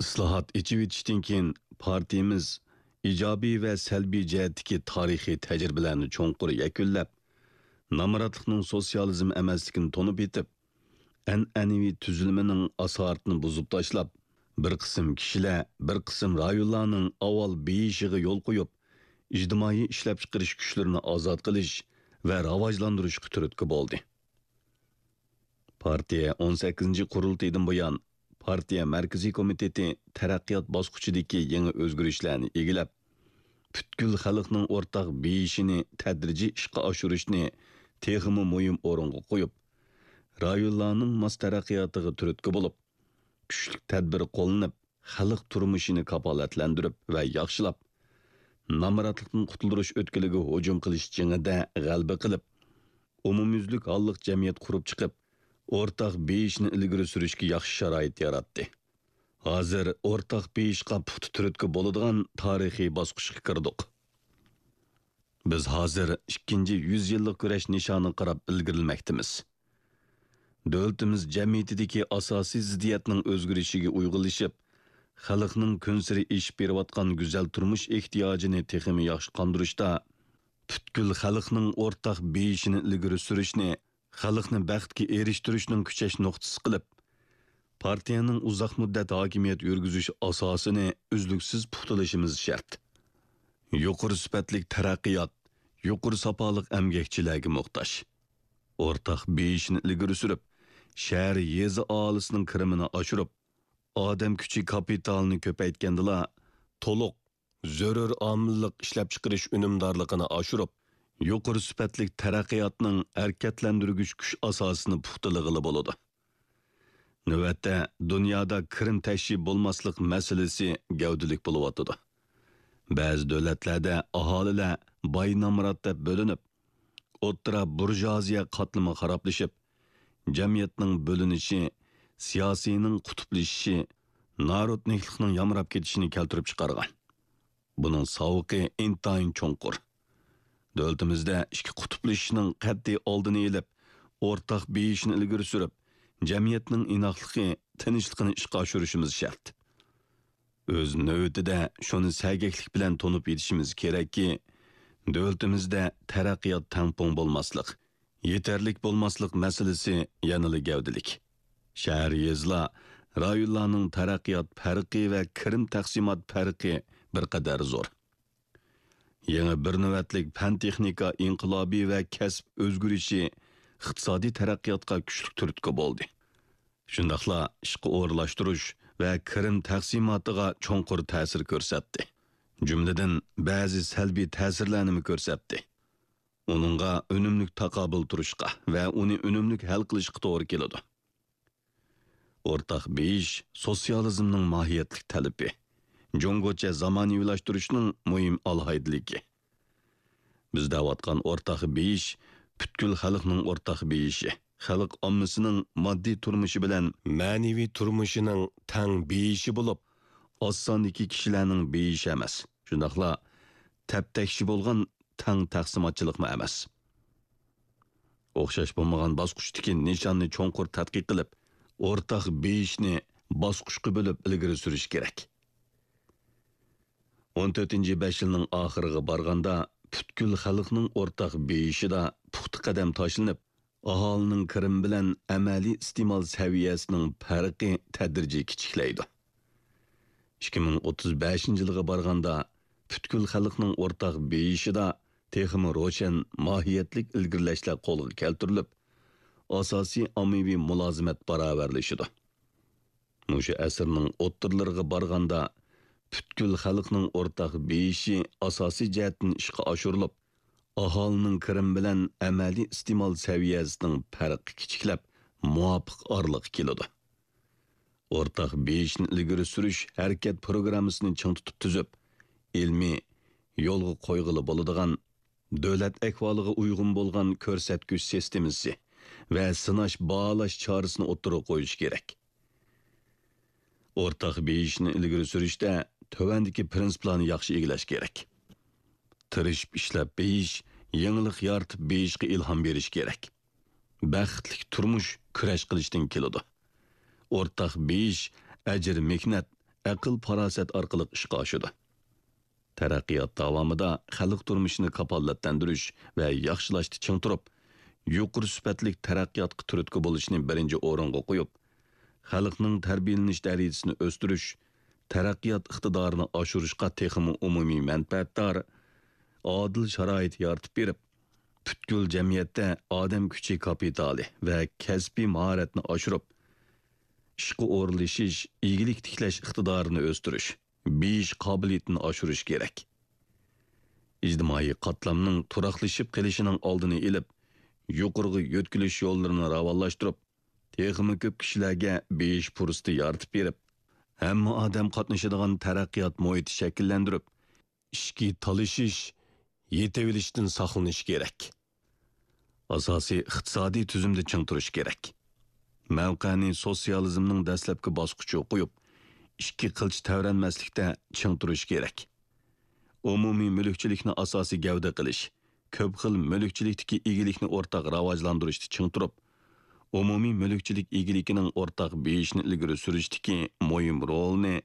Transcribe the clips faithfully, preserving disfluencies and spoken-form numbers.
ئىسلاھات، ئېچىۋېتىشتىن كېيىن، پارتىيىمىز ئىجابىي ۋە سەلبىي جەھەتتىكى تارىخىي تەجرىبىلەرنى چوڭقۇر يەكۈنلەپ، نامراتلىقنىڭ سوتسىيالىزم ئەمەسلىكىنى تونۇپ يېتىپ، ئەنئەنىۋى تۈزۈلمىنىڭ ئاسارىتىنى بۇزۇپ تاشلاپ، بىر قىسىم كىشىلەر، بىر قىسىم رايونلارنىڭ ئاۋۋال بېيىشىغا يول قويۇپ، ئىجتىمائىي ئىشلەپچىقىرىش كۈچلىرىنى ئازاد قىلىش ۋە راۋاجلاندۇرۇشقا تۈرتكە بولدى. پارتىيە ئون سەككىزىنچى قۇرۇلتىيىدىن بۇيان، پارتىيە مەركىزىي كومىتېتى تەرەققىيات باسقۇچىدىكى يېڭى ئۆزگىرىشلەرنى ئىگىلەپ، پۈتكۈل خەلقنىڭ ئورتاق بېيىشىنى تەدرىجىي ئىشقا ئاشۇرۇشنى تېخىمۇ مۇھىم ئورۇنغا قويۇپ، رايونلارنىڭ ماس تەرەققىياتىغا تۈرتكە بولۇپ، كۈچلۈك تەدبىر قوللىنىپ، خەلق تۇرمۇشىنى كاپالەتلەندۈرۈپ ۋە ياخشىلاپ، نامراتلىقتىن قۇتۇلدۇرۇش ئۆتكىلىگە ھۇجۇم قىلىش جېڭىدە غەلىبە قىلىپ، ئومۇميۈزلۈك ھاللىق جەمئىيەت قۇرۇپ چىقىپ، ئورتاق بېيىشنى ئىلگىرى سۈرۈشكە ياخشى شارائىت ياراتتى. ھازىر ئورتاق بېيىشقا پۇختا تۈرتكە بولىدىغان تارىخىي باسقۇچقا كىردۇق. بىز ھازىر ئىككىنچى يۈز يىللىق كۈرەش نىشانىغا قاراپ ئىلگىرىلىمەكتىمىز. دۆلىتىمىز جەمئىيىتىدىكى ئاساسىي زىددىيەتنىڭ ئۆزگىرىشىگە ئۇيغۇنلىشىپ، خەلقنىڭ كۈنسېرى ئېشىپ بېرىۋاتقان گۈزەل تۇرمۇش ئېھتىياجىنى تېخىمۇ ياخشى قاندۇرۇشتا، پۈتكۈل خەلقنىڭ ئورتاق بېيىشىنى ئىلگىرى سۈرۈشنى خەلقنى بەختكە ئېرىشتۈرۈشنىڭ كۈچەش نۇقتىسى قىلىپ، پارتىيەنىڭ ئۇزاق مۇددەت ھاكىمىيەت يۈرگۈزۈش ئاساسىنى ئۈزلۈكسىز پۇختىلىشىمىز شەرت. يۇقىرى سۈپەتلىك تەرەققىيات يۇقىرى ساپالىق ئەمگەكچىلەرگە موھتاج. ئورتاق بېيىشنى ئىلگىرى سۈرۈپ، شەھەر، يېزا ئاھالىسىنىڭ كىرىمىنى ئاشۇرۇپ، ئادەم كۈچى كاپىتالىنى كۆپەيتكەندىلا، تولۇق، زۆرۈر ئامىللىق ئىشلەپچىقىرىش ئۈنۈمدارلىقىنى ئاشۇرۇپ، يۇقىرى سۈپەتلىك تەرەققىياتنىڭ ھەرىكەتلەندۈرگۈچ كۈچ ئاساسىنى پۇختىلىغىلى بولىدۇ. نۆۋەتتە، دۇنيادا كىرىم تەشۋى بولماسلىق مەسىلىسى گەۋدىلىك بولۇۋاتىدۇ. بەزى دۆلەتلەردە ئاھالىلەر باي-نامرات دەپ بۆلۈنۈپ، ئوتتۇرا بۇرژۇئازىيە قاتلىمى خارابلىشىپ، جەمئىيەتنىڭ بۆلۈنۈشى، سىياسىينىڭ قۇتۇپلىشىشى، نارودنىكلىقنىڭ يامراپ كېتىشىنى كەلتۈرۈپ چىقارغان. بۇنىڭ ساۋۇقى ئىنتايىن چوڭقۇر. دۆلىتىمىزدە ئىككى قۇتۇپلىشىشنىڭ قەتئىي ئالدىنى ئېلىپ، ئورتاق بېيىشنى ئىلگىرى سۈرۈپ، جەمئىيەتنىڭ ئىناقلىقى، تىنچلىقىنى ئىشقا ئاشۇرۇشىمىز شەرت. ئۆز نۆۋىتىدە شۇنى سەگەكلىك بىلەن تونۇپ يېتىشىمىز كېرەككى، دۆلىتىمىزدە تەرەققىيات تەڭپۇڭ بولماسلىق، يېتەرلىك بولماسلىق مەسىلىسى يەنىلا گەۋدىلىك. شەھەر، يېزىلار، رايونلارنىڭ تەرەققىيات پەرقى ۋە كىرىم تەقسىمات پەرقى بىر قەدەر زور. يېڭى بىر نۆۋەتلىك پەن-تېخنىكا ئىنقىلابى ۋە كەسىپ ئۆزگىرىشى ئىقتىسادىي تەرەققىياتقا كۈچلۈك تۈرتكە بولدى. شۇنداقلا ئىشقا ئورۇنلاشتۇرۇش ۋە كىرىم تەقسىماتىغا چوڭقۇر تەسىر كۆرسەتتى. جۈملىدىن بەزى سەلبىي تەسىرلەرنىمۇ كۆرسەتتى. ئۇنىڭغا ئۈنۈملۈك تاقابىل تۇرۇشقا ۋە ئۇنى ئۈنۈملۈك ھەل قىلىشقا توغرا كېلىدۇ. ئورتاق بېيىش سوتسىيالىزمنىڭ ماھىيەتلىك تەلىپى، جۇڭگوچە زامانىۋىلاشتۇرۇشنىڭ مۇھىم ئالاھىدىلىكى. بىز دەۋاتقان ئورتاق بېيىش پۈتكۈل خەلقنىڭ ئورتاق بېيىشى، خەلق ئاممىسىنىڭ ماددىي تۇرمۇشى بىلەن مەنىۋى تۇرمۇشىنىڭ تەڭ بېيىشى بولۇپ، ئاز ساندىكى كىشىلەرنىڭ بېيىشى ئەمەس، شۇنداقلا تەپتەكشى بولغان تەڭ تەقسىماتچىلىقمۇ ئەمەس. ئوخشاش بولمىغان باسقۇچتىكى نىشاننى چوڭقۇر تەتقىق قىلىپ، ئورتاق بېيىشنى باسقۇچقا بۆلۈپ ئىلگىرى سۈرۈش كېرەك. ئون تۆتىنچى بەش يىلنىڭ ئاخىرىغا بارغاندا، پۈتكۈل خەلقنىڭ ئورتاق بېيىشىدا پۇختا قەدەم تاشلىنىپ، ئاھالىنىڭ كىرىمى بىلەن ئەمەلىي ئىستېمال سەۋىيەسىنىڭ پەرقى تەدرىجىي كىچىكلەيدۇ. ئىككى مىڭ ئوتتۇز بەشىنچى يىلغا بارغاندا، پۈتكۈل خەلقنىڭ ئورتاق بېيىشىدا تېخىمۇ روشەن ماھىيەتلىك ئىلگىرىلەشلەر قولغا كەلتۈرۈلۈپ، ئاساسىي ئاممىۋى مۇلازىمەت باراۋەرلىشىدۇ. مۇشۇ ئەسىرنىڭ ئوتتۇرىلىرىغا بارغاندا، پۈتكۈل خەلقنىڭ ئورتاق بېيىشى ئاساسىي جەھەتتىن ئىشقا ئاشۇرۇلۇپ، ئاھالىنىڭ كىرىمى بىلەن ئەمەلىي ئىستېمال سەۋىيەسىنىڭ پەرقى كىچىكلەپ، مۇۋاپىق ئارىلىققا كېلىدۇ. ئورتاق بېيىشنى ئىلگىرى سۈرۈش ھەرىكەت پروگراممىسىنى چىڭ تۇتۇپ تۈزۈپ، ئىلمىي يولغا قويغىلى بولىدىغان، دۆلەت ئەھۋالىغا ئۇيغۇن بولغان كۆرسەتكۈچ سىستېمىسى ۋە سىناش، باھالاش چارىسىنى ئوتتۇرىغا قويۇش كېرەك. ئورتاق بېيىشنى ئىلگىرى سۈرۈشتە تۆۋەندىكى پىرىنسىپلارنى ياخشى ئىگىلەش كېرەك. تىرىشىپ ئىشلەپ بېيىش، يېڭىلىق يارىتىپ بېيىشقا ئىلھام بېرىش كېرەك. بەختلىك تۇرمۇش كۈرەش قىلىشتىن كېلىدۇ. ئورتاق بېيىش ئەجىر-مېھنەت، ئەقىل-پاراسەت ئارقىلىق ئىشقا ئاشىدۇ. تەرەققىيات داۋامىدا خەلق تۇرمۇشىنى كاپالەتلەندۈرۈش ۋە ياخشىلاشتا چىڭ تۇرۇپ، يۇقىرى سۈپەتلىك تەرەققىياتقا تۈرتكە بولۇشنى بىرىنچى ئورۇنغا قويۇپ، خەلقنىڭ تەربىيەلىنىش دەرىجىسىنى ئۆستۈرۈش، تەرەققىيات ئىقتىدارىنى ئاشۇرۇشقا تېخىمۇ ئومۇمىي مەنپەئەتدار، ئادىل شارائىت يارىتىپ بېرىپ، پۈتكۈل جەمئىيەتتە ئادەم كۈچى كاپىتالى ۋە كەسپىي ماھارەتنى ئاشۇرۇپ، ئىشقا ئورۇنلىشىش، ئىگىلىك تىكلەش ئىقتىدارىنى ئۆستۈرۈش، بېيىش قابىلىيىتىنى ئاشۇرۇش كېرەك. ئىجتىمائىي قاتلامنىڭ تۇراقلىشىپ قېلىشىنىڭ ئالدىنى ئېلىپ، يۇقىرىغا يۆتكىلىش يوللىرىنى راۋانلاشتۇرۇپ، تېخىمۇ كۆپ كىشىلەرگە بېيىش پۇرسىتى يارىتىپ بېرىپ، ھەممە ئادەم قاتنىشىدىغان تەرەققىيات مۇھىتى شەكىللەندۈرۈپ، ئىچكى تالىشىش، يېتىۋېلىشتىن ساقلىنىش كېرەك. ئاساسىي ئىقتىسادىي تۈزۈمدە چىڭ تۇرۇش كېرەك. مەۋقەنى سوتسىيالىزمنىڭ دەسلەپكى باسقۇچىغا قويۇپ، ئىككى قىلچە تەۋرەنمەسلىكتە چىڭ تۇرۇش كېرەك. ئومۇمىي مۈلۈكچىلىكنى ئاساسىي گەۋدە قىلىش، كۆپ خىل مۈلۈكچىلىكتىكى ئىگىلىكنى ئورتاق راۋاجلاندۇرۇشتا چىڭ تۇرۇپ، ئومۇمىي مۈلۈكچىلىك ئىگىلىكىنىڭ ئورتاق بېيىشىنى ئىلگىرى سۈرۈشتىكى مۇھىم رولىنى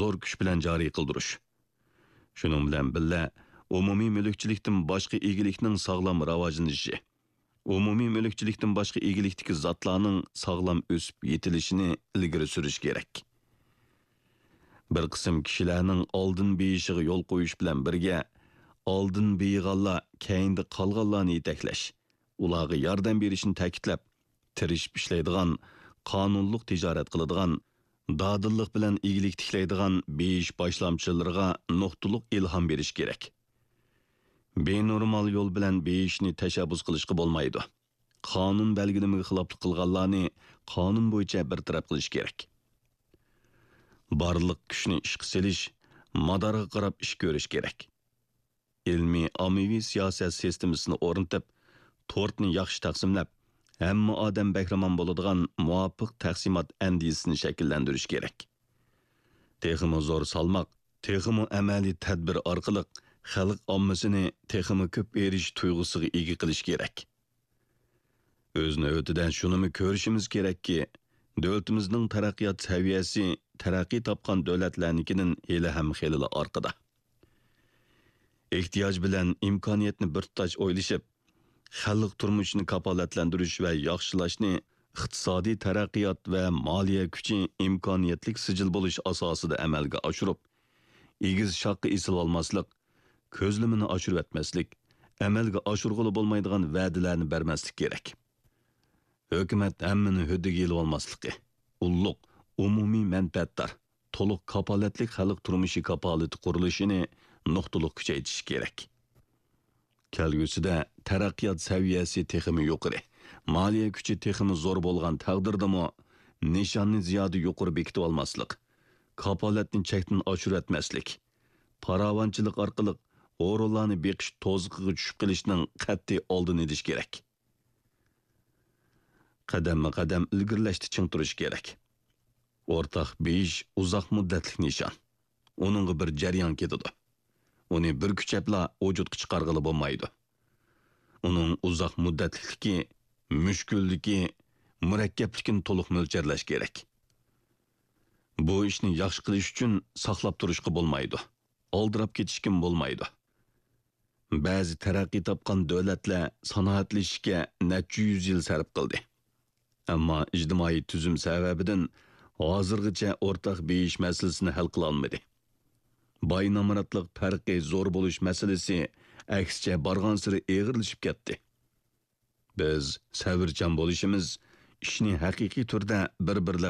زور كۈچ بىلەن جارى قىلدۇرۇش. شۇنىڭ بىلەن بىللە، ئومۇمىي مۈلۈكچىلىكتىن باشقا ئىگىلىكنىڭ ساغلام راۋاجلىنىشى، ئومۇمىي مۈلۈكچىلىكتىن باشقا ئىگىلىكتىكى زاتلارنىڭ ساغلام ئۆسۈپ يېتىلىشىنى ئىلگىرى سۈرۈش كېرەك. بىر قىسىم كىشىلەرنىڭ ئالدىن بېيىشىغا يول قويۇش بىلەن بىرگە، ئالدىن بېيىغانلار كەينىدە قالغانلارنى يېتەكلەش، ئۇلارغا ياردەم بېرىشنى تەكىتلەپ، تىرىشىپ ئىشلەيدىغان، قانۇنلۇق تىجارەت قىلىدىغان، دادىللىق بىلەن ئىگىلىك تىكلەيدىغان بېيىش باشلامچىلىرىغا نۇقتىلىق ئىلھام بېرىش كېرەك. بىنورمال يول بىلەن بېيىشنى تەشەببۇس قىلىشقا بولمايدۇ. قانۇن بەلگىلىمىگە خىلاپلىق قىلغانلارنى قانۇن بويىچە بىر تەرەپ قىلىش كېرەك. بارلىق كۈچنى ئىشقا سېلىش، مادارغا قاراپ ئىش كۆرۈش كېرەك. ئىلمىي ئاممىۋى سىياسەت سىستېمىسىنى ئورنىتىپ، تورتنى ياخشى تەقسىملەپ، ھەممە ئادەم بەھرىمەن بولىدىغان مۇۋاپىق تەقسىمات ئەندىزىسىنى شەكىللەندۈرۈش كېرەك. تېخىمۇ زور سالماق، تېخىمۇ ئەمەلىي تەدبىر ئارقىلىق خەلق ئاممىسىنى تېخىمۇ كۆپ ئېرىشىش تۇيغۇسىغا ئىگە قىلىش كېرەك. ئۆز نۆۋىتىدە شۇنىمۇ كۆرۈشىمىز كېرەككى، دۆلىتىمىزنىڭ تەرەققىيات سەۋىيەسى تەرەققىي تاپقان دۆلەتلەرنىڭكىدىن ھېلىھەم خېلىلا ئارقىدا. ئېھتىياج بىلەن ئىمكانىيەتنى بىر تۇتاش ئويلىشىپ، خەلق تۇرمۇشىنى كاپالەتلەندۈرۈش ۋە ياخشىلاشنى ئىقتىسادىي تەرەققىيات ۋە مالىيە كۈچى ئىمكانىيەتلىك سىجىل بولۇش ئاساسىدا ئەمەلگە ئاشۇرۇپ، ئېگىز شاخقا ئېسىلىۋالماسلىق، كۆزلىمىنى ئاشۇرۇۋەتمەسلىك، ئەمەلگە ئاشۇرغىلى بولمايدىغان ۋەدىلەرنى بەرمەسلىك كېرەك. ھۆكۈمەت ھەممىنى ھۆددىگە ئېلىۋالماسلىقى، ئۇللۇق، ئومۇمىي مەنپەئەتدار، تولۇق كاپالەتلىك خەلق تۇرمۇشى كاپالىتى قۇرۇلۇشىنى نۇقتىلىق كۈچەيتىش كېرەك. كەلگۈسىدە تەرەققىيات سەۋىيەسى تېخىمۇ يۇقىرى، مالىيە كۈچى تېخىمۇ زور بولغان تەقدىردىمۇ، نىشاننى زىيادە يۇقىرى بېكىتىۋالماسلىق، كاپالەتنى چەكتىن ئاشۇرۇۋەتمەسلىك، پاراۋانچىلىق ئارقىلىق ھورۇنلارنى بېقىش توزۇقىغا چۈشۈپ قېلىشنىڭ قەتئىي ئالدىنى ئېلىش كېرەك. قەدەممۇ قەدەم ئىلگىرىلەشتە چىڭ تۇرۇش كېرەك. ئورتاق بېيىش ئۇزاق مۇددەتلىك نىشان. ئۇنىڭغا بىر جەريان كېتىدۇ. ئۇنى بىر كۈچەپلا ۋۇجۇدقا چىقارغىلى بولمايدۇ. ئۇنىڭ ئۇزاق مۇددەتلىكلىكى، مۈشكۈللۈكى، مۇرەككەپلىكىنى تولۇق مۆلچەرلەش كېرەك. بۇ ئىشنى ياخشى قىلىش ئۈچۈن ساقلاپ تۇرۇشقا بولمايدۇ. ئالدىراپ كېتىشكىمۇ بولمايدۇ. بەزى تەرەققىي تاپقان دۆلەتلەر سانائەتلىشىشكە نەچچە يۈز يىل سەرپ قىلدى. ئەمما ئىجتىمائىي تۈزۈم سەۋەبىدىن ھازىرغىچە ئورتاق بېيىش مەسىلىسىنى ھەل قىلالمىدى. باي نامراتلىق پەرقى زور بولۇش مەسىلىسى ئەكسىچە بارغانسېرى ئېغىرلىشىپ كەتتى. بىز سەۋرچان بولۇشىمىز، ئىشنى ھەقىقىي تۈردە بىر-بىرلەپ